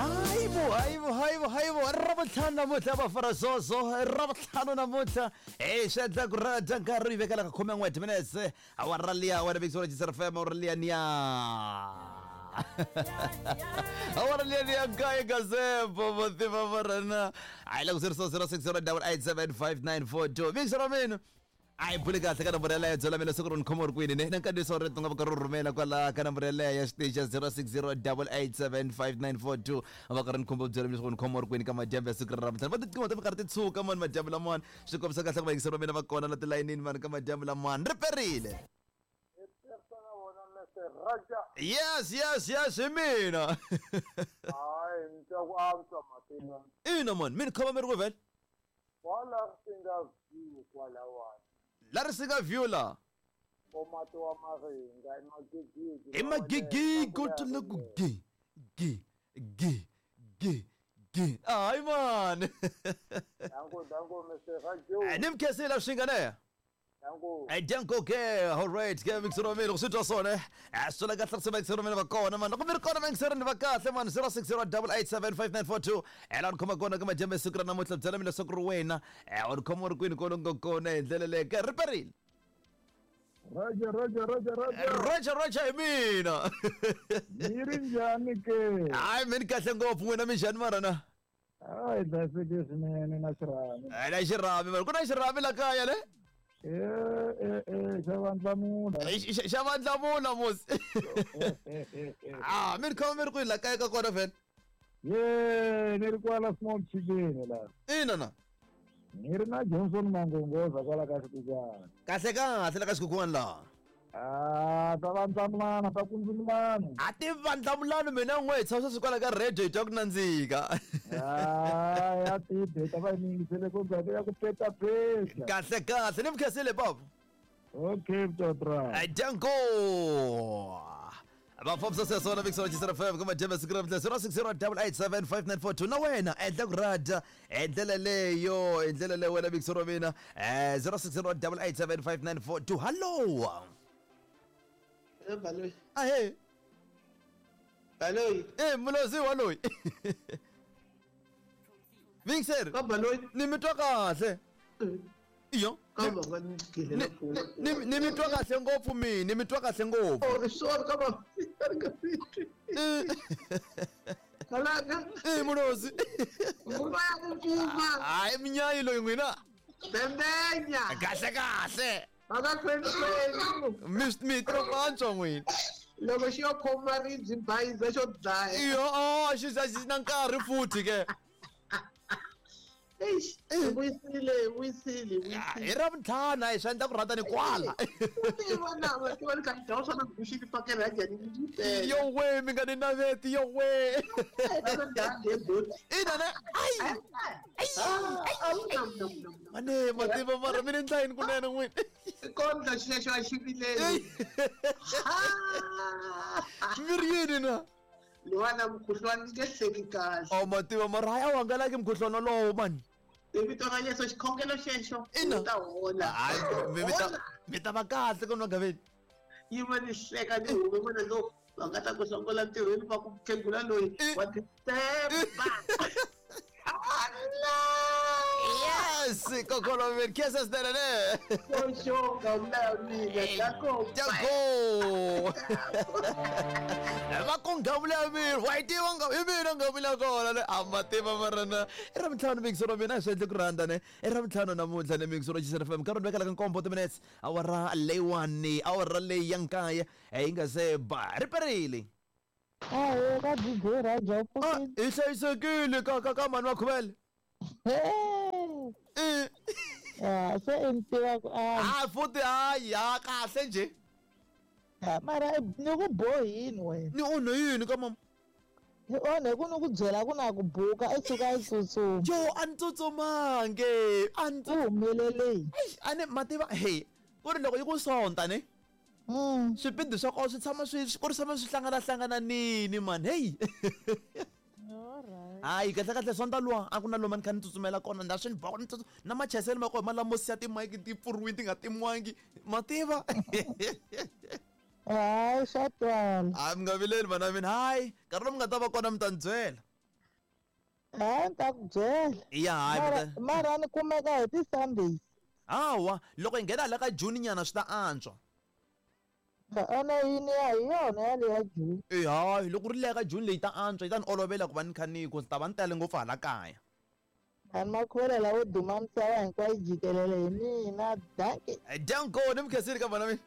Hayibo, hayibo, hayibo, hayibo, Ravutlhanu namuntlha vafarazozo, Ravutlhanu namuntlha hi swi endla ku rhandza nkarhi yi vekela ka khume n'we minutes awara liya wena vekisiwa Jisr FM awara liya niya awara liya niya nkaye gazebo mativa marana a yi la ku 060 887 5942 vekisiwa ra mina a hi buli kahle ka nomboro yaleyo byela mina siku ri ni khoma u ri kwini ne na nkandziyiso wa rito nga va ka ri rhumela kwala ka nomboro yaleyo ya xitichi ya 060 887 5942 va ka ri ni khumba byela mina siku ni khoma u ri kwini ka madyambu ya siku ra namuntlha va tiqingho ta minkarhi ti tshuka mani madyambu lamawani swi kombisa kahle ku vayingiseri va mina va kona la tilayinini mani ka madyambu lamawani ri perile. Raja. Yes, yes, yes, hi mina. Hayi, ni twa ku antswa mativa. Ina mani, mi ni khoma mi ri ku vhele. Kwala ri nga view kwalawani. La ri singa view la. Komati wa Maringa i magigigi. I magigigi u tule ku gi gi gi gi gi. Hayi mani. Danko danko Mr. Rajo. Ni mi khensile swi nga ne. Danko. Danko ke, all right, ke mixero mina loko swi twa swona a swi twela kahle ku mixero mina va kona mani loko mi ri kona mixero ni va kahle mani 0608875942 ela ni khoma kona ka madyambu ya siku ra namuntlha byela mina leswaku ri wena u ni khoma u ri kwini kona u nga kona hi ndlela leyi ke ri perile. Roger, Roger, Roger, Roger. Roger, Roger hi mina. Mi ri njhani ke? Hayi mi ni kahle ngopfu n'wina mi njhani mara na? Hayi hlayisekile swinene na xirhami. Na xirhami mara ku na xirhami la kaya le? E xa vandlamula. Xa vandlamula musi. Ah, mi ri khoma mi ri kwihi la kaya ka kona vhele? Ye, ni ri kwala small chicken la. Ina na. Ni ri na Johnson Mangongoza kwala ka xikukwana. Kahle kahle la ka xikukwana la. Ah, ta vandlamulana, ta kundzumulana. A ti vandlamulani mina n'we hi tshama sweswi kwala ka radio hi twa ku nandzika. Ah, ya tibe ta va yi yingisele ku ya ku petapeta. Kahle kahle ni mi khensile baba. Okay, Mtotra. Danko. Vafambisa sweswo na Vixon Chisera FM kuma Jembe siku ra 0608875942 na wena endla ku rada hi ndlela leyo hi ndlela leyo wena Vixon wa mina 0608875942 hallo. Baloyi. Ahe. Baloyi. Mulozi wa loyi. Vixer. Ka Baloyi. Ni mi twa kahle. Iyo. Ka va nga ni gile Ni mi twa kahle ngopfu mina, ni mi twa kahle ngopfu. Oh, sorry ka va. Kalaka. Mulozi. Nguma ya ku pfuma. Hayi minyayi loyi n'wina. Bembenya. Kahle kahle. Va ka twenty. Mi twa ku antswa n'wina. Loko xi yo khoma ribyi bayiza xo dlaya. Iyo, oh, xi xi na nkarhi futhi ke. Eish, vuyisile, vuyisile, vuyisile. Hi Ravuntlhanu a hi swi endla ku rhandza ni kwala. Tiva na va tiva ni ka dya swona ku xi fakela ya njhani ni tele. Yo we mi nga ni naveti yo we. Ina ne. Ai. Mane mativa mara mi ni ndla yini kunene n'wini. Kondla xexo a xi vileli. Mi ri yini na? Luwana mukhuhlwani ni nge hleki kahle. Oh mativa mara hayi a wu hangalaki mukhuhlwani wolowo mani. Hi vito ra Yesu xikhongelo xexo Ina. u ta hola. Hayi mi ta va kahle ka nwagaveni. Yima ni hleka ni hume vona lo va nga ta ku hlongola ntirhweni va ku khegula loyi wa titemba. Yes, kokolo mi kesa swinene ne. Xoxoka mna mina dako. Dako. Va ku nghavula ya mina, wa yi tiva nga hi mina nghavula kona ne. A ma tiva mara na. I Ravuntlhanu mixo ra mina a swi endli ku rhandza ne. I Ravuntlhanu namuntlha ne mixo ra Chisela FM. Nkarhi vekela ka nkombo minutes. Awara leyiwani, awara leyi ya nkaye yi nga se ba. Ri perile. Ahe ka DJ Raja u pfukile. Hi hlayisekile ka ka ka mhani wa Khuvele. Ya se i ni tiva ku a. Ah futhi hayi ya kahle nje. Mara ni ku bohini wena. Ni onhe yini ka mama? Ni onhe ku ni ku byela ku na ku buka i suka i tsutsuma. Yo a ni tsutsumangi. A ni U humelele yini? Eish a ni mativa hey ku ri loko yi ku sonta ne. Swipidi swa kona swi tshama swi ku ri tshama swi hlangana hlangananini mani hey. Hayi kahle kahle sonta luwa a ku na lomu a ni kha ni tsutsumela kona nda swi ni boha ni na machayiselo ma kona ma lamo siya timayiki ti pfuriwini ti nga timiwangi ma tiva. Hayi swa twala. Hayi mi nga vileli vana mina hayi nkarhi lomu nga ta va kona mi ta ni byela. Hayi ni ta ku byela. Ya hayi Mara mara ni kumeka hi ti-Sundays. Hawa loko hi nghena hala ka June nyana swi ta antswa. Ene yini ya hi yona yaleya June. E hayi loko ri leya ka June leyi ta antswa yi ta ni olovela ku va ni kha ni ku ndzi ta va ni tele ngopfu hala kaya. Mhani Makhuvela lavo duma misava hinkwayo jikelele hi mina. Dankie. Danko ni mi khensile ka vana mina.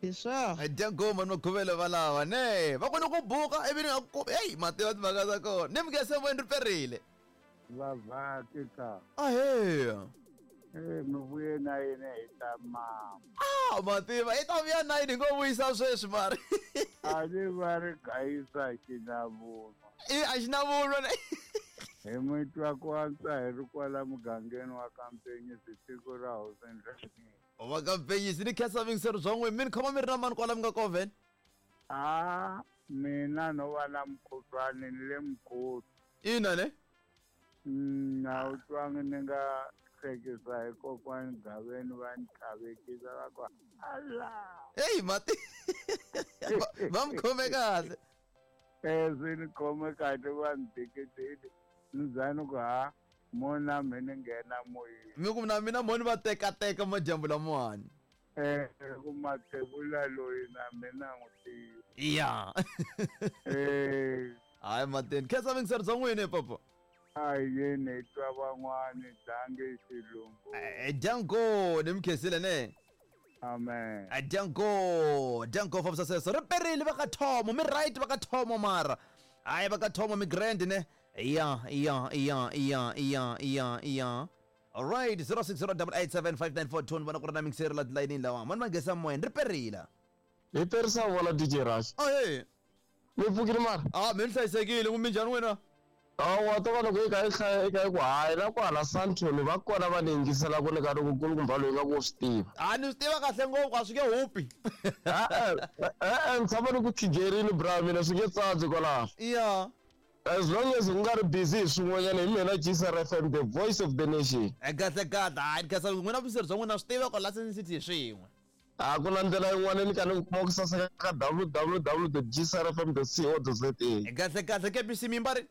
Hi swona. Danko mhani Makhuvela valava ne va kone ku buka ivi ni nga ku heyi ma tiva timhaka ta kona ni mi khense moyeni ri perile. Vavhaki ka. Ahee. Eh, mi vuye na yena hi ta mama. Ah, ma tiva i ta vuya na yini hi ngo vuyisa sweswi mari. A ni va ri gayisa xinavunwa. I a xi na vunwa ne. Hi mi twa ku antswa hi ri kwala mugangeni wa ka Mpenyisi tiko ra Hosi Ndlangeni. Va ka Mpenyisi ni khensa vingiseri bya n'wina mi ni khoma mi ri na mani kwala mi nga kona vhele. A mina no va na mukhuhlwani ni le mukhuhlwa. Ina ne. A wu twangi ni nga hlekisa hi kokwani Gaveni va ni tlhavekisa va ku ala. Heyi mati va mi khome kahle. Eh swi ni khome kahle va ni dikidiki ni za ni ku ha mo na me ni nghena moyeni. Mi ku na mina mo ni va tekateka madyambu lamawani. Eh ku mathebula loyi na mina n'wi tiva. Ya. Eh Hayi mateni khensa vingiseri bya n'wina papa. A hi yeni hi twa van'wani dange xilungu. Danko ni mi khensile ne. Amen. Danko danko fambisa sweswo ri perile va ka Thomo mi right va ka Thomo mara hayi va ka Thomo mi grand ne ya ya ya ya ya ya ya alright 0608875942 ni vona ku ri na mingiseri la tilayinini lawa mani va nghesa moyeni ri perile Hi perisa vola DJ Rush. Ahee. Mi pfukile mara? Ah, mi ni hlayisekile ku minjhani n'wina? Hawa to va loko i kha i hlaya i kha i ku hayi la kwala Sandton va kona va ni yingiselaka ni ka ri ku kulukumba loyi nga ku swi tiva. A ni swi tiva kahle ngopfu a swi nge hupi. E-e, e-e ni tshama ni ku khigerini bra mina swi nge tsandzi kwalaho. Ya. As long as u nga ri busy hi swin'wanyana hi mina Gcr FM the voice of the nation. Kahle kahle hayi ni khensa n'wina vuyiseri bya n'wina swi tiva ku la Sun City hi swin'we. A ku na ndlela yin'wana ni ka ni kuma ku saseka ka www.gcrfm.co.za. Kahle kahle KBC mi mbari.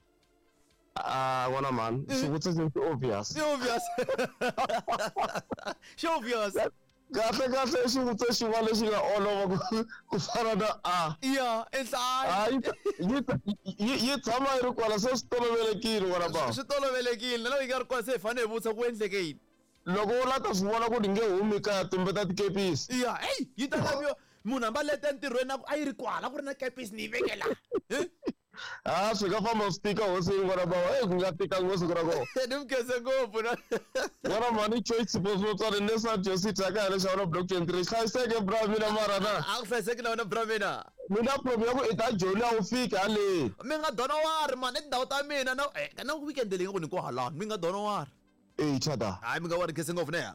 Ah, n'wana mhani, xivutiso xi obvious. Xi obvious. Xi obvious. Kahle kahle i xivutiso xin'wana lexi nga olova ku fana na a. Ya, i nhlayo. Ah, yi tshama yi ri kwala se swi tolovelekile n'wana bava. Swi tolovelekile na loko yi nga ri kwala se hi fanele hi vutisa ku endleke yini. Loko u la ta swi vona ku ni nge humi kaya tumbeta tikepisi. Ya, heyi yi ta laviwa munhu hambi a leta entirhweni a ku a yi ri kwala ku ri na kepisi ni yi veke la. Ha swi nga famba swi tika hosi n'wana bava eyi ku nga tika ngopfu siku ra kona. Ni mi khense ngopfu na. N'wana mhani Choice Sipho ne San Jose Taka ya le Xavana block 23 hlayiseke bra mina mara na. A ku hlayiseki na wena bra mina. Mina problem ya ku i ta joni a wu fiki haleni. Mi nga dona wari mani i tindhawu ta mina na na weekend leyi nga ku ni ku halani mi nga dona wari. Eyi chata. Hayi mi nga wari khense ngopfu ne.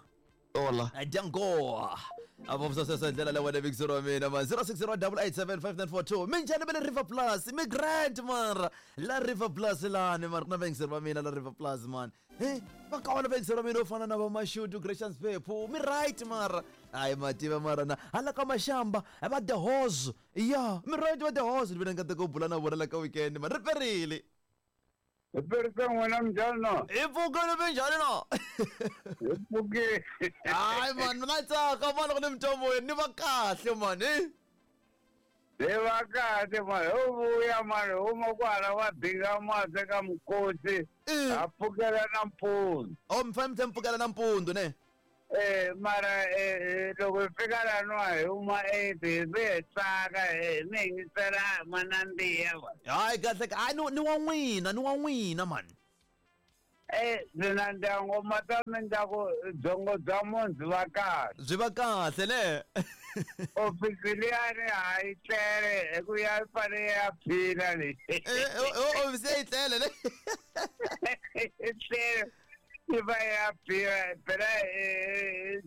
Hola. Django. Avo sasa ndlela leyi wena vixero wa mina ma 0608875942 minjhani va le River Plus mi grand mara la River Plus lani mara ku na vayingiseri va mina la River Plus man he va kona vayingiseri va mina vo fana na va Mashudu Gracious Phephu mi right mara hayi mativa mara na hala ka Mashamba va the Hose ya mi right va the Hose ni vona nkateko wo bula na vona la ka weekend man ri perile Hi perisa n'wina minjhani no? Hi pfukile minjhani no? Hi pfukile. Hayi mani na tsaka mani loko ni mi twa moyeni ni va kahle mani hi. Hi va kahle mani ho vuya mani huma kwala wa dinga mati ka mukhosi ha pfukela nampundzu. Oh mi fanele mi tlhela mi pfukela nampundzu ne? Eh mara loko hi fika laniwa hi huma 8 hi vuye hi tsaka mi yingisela ma nandziha va. Hayi kahle hayi ni wa n'wina ni wa n'wina mani. Eh ndzi na ndyangu ma ta mi ndla ku byongo bya munhu byi va kahle. Byi va kahle ne. Ofisi liyani ha yi tlele hi ku ya fanele ya phila leyi. Eh ofisi ya yi tlele ne. Yi tlele. Yi va ya biha phela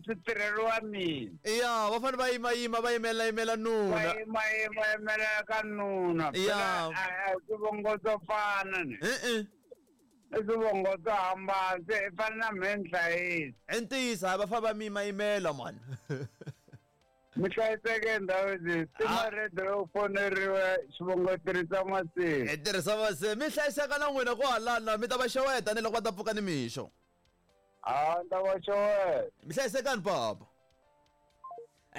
swi tirheriwa mina. Ya va fanele va yimayima va yimela yimela Va nuna. yimayima yimela ka nuna. Ya. Phela a hi swivongo swo fana ni. E-e. I swivongo swo hambana se i fana na mehe ni hlayisa. I ntiyiso hayi va fanele va mi yimayimela mani. Mi hlayiseke ndhawu timaredio yo foneriwe xivongo tirhisa masiku. Hi tirhisa masiku. Mi hlayiseka na n'wina ku halana mi ta va xeweta ni loko va ta pfuka ni mixo. A ni ta va xeweta. Mi hlayisekani papa.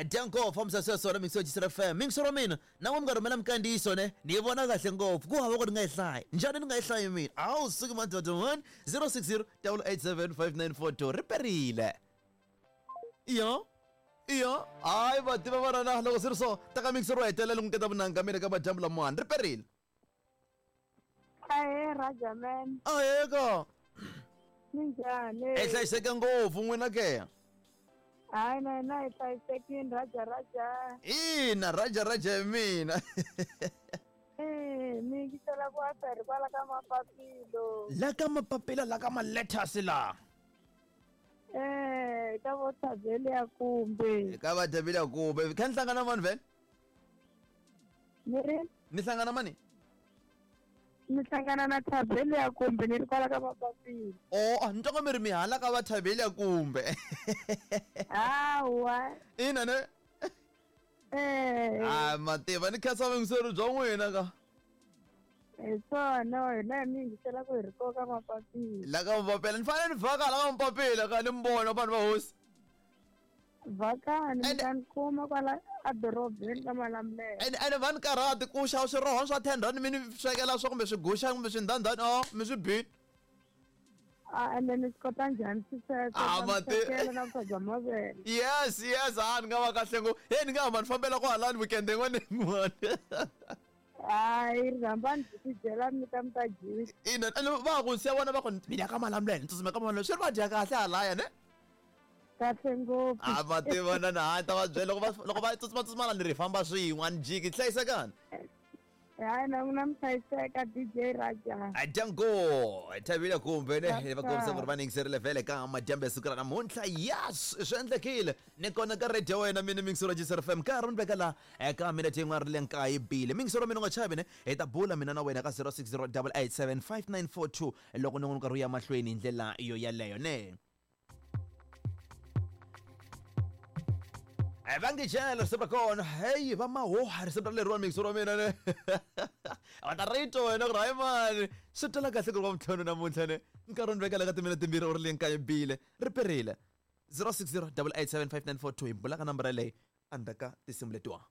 Dyanko fambisa sweswo na mixo Jisra FM. Mixo ra mina na n'we mi nga rhumela minkandziyiso ne ni yi vona kahle ngopfu ku hava ku ni nga yi hlayi. Njhani ni nga yi hlayi mina? Awu suki madoda 1 060 887 5942 ri perile. Iyo. Iyo. Hayi va tiva va rana loko swi ri so ta ka mixo ro hetelela n'wi keta vunanga mina ka madyambu lamawani ri perile. Ahee Rajaman. Ahee ka. Minjhani? Hi hlayiseke ngopfu n'wina ke. Hayi na hina hi hlayisekile Raja Raja. Ina Raja Raja hi mina. Eh, mi yingisela ku asa hi kwala ka mapapilo. La ka mapapila la ka ma-letters la. Eh, ka vo Thabele ya kumbe. Ka va Thabele ya kumbe. Kha ni hlangana mani vhele? Ni ri? Ni hlangana mani? Ni hlangana na Thabele ya kumbe ni ri kwala ka mapapila. Oh, ni twa nga mi ri mi hala ka va Thabele ya kumbe. Hawa. Ina ne? Eh. Ah, mativa ni khensa vuyingiseri bya n'wina ka. Hi swona hina mi yingisela ku hi ri ko ka mapapila. La ka mapapila ni fanele ni vhaka la ka mapapila ka ni mi vona vanhu va hosi. Vhakani mi ta ni kuma kwala edorobeni ka Malamulele. Ene va ni karhati ku xava swiroho swa 10 rand mi ni swekela swo kumbe swiguxa kumbe swindhandhani o mi swi bini. A ende ni swi kota njhani swi sweswo? Ah, Ta mi swekela na vuswa bya mavele. Yes, yes, a ni nga va kahle ngopfu. Hey, ni nga hamba ni fambela kwahalani weekend yin'wana na yin'wana. Hayi rhambani byi tidyela mi ta mi ta dyisa. Ina, ene va ku siya vona va ku mi ya ka Malamulele, ni tsutsuma ka Malamulele. Swi ri va dya kahle halaya ne? Kahle ngopfu. A va tiva na na hayi ta va byela loko va loko va tsutsuma tsutsuma la ni ri famba swin'we a ni jiki hlayisekani. Hayi na n'wina mi hlayiseka DJ Raja. Dyango thavile kumbe ne va kombisa ku ri va ningiserile vhele ka madyambu ya siku ra namuntlha. Yes, swi endlekile ni kona ka radio wena mina mingisero Jisr FM nkarhi ni veka la eka minete yin'wana ri le nkaye bile mingisero mina u nga chavi ne hi ta bula mina na wena ka 060 887 5942 loko ni n'wi nkarhi wu ya mahlweni hi ndlela yo yaleyo ne. Va nge jela risimu ra kona heyi va mahoha risimu ra leriwani mixo ra mina ne va ta ri twa wena ku ri hayi mani swi twala kahle ku ri wa mintlhanu namuntlha ne nkarhi ni vekela ka timina timbirhi u ri le nkaye bile ri perile 060 887 5942 hi bula ka nambara leyi endzhaku ka tinsimu letiwa.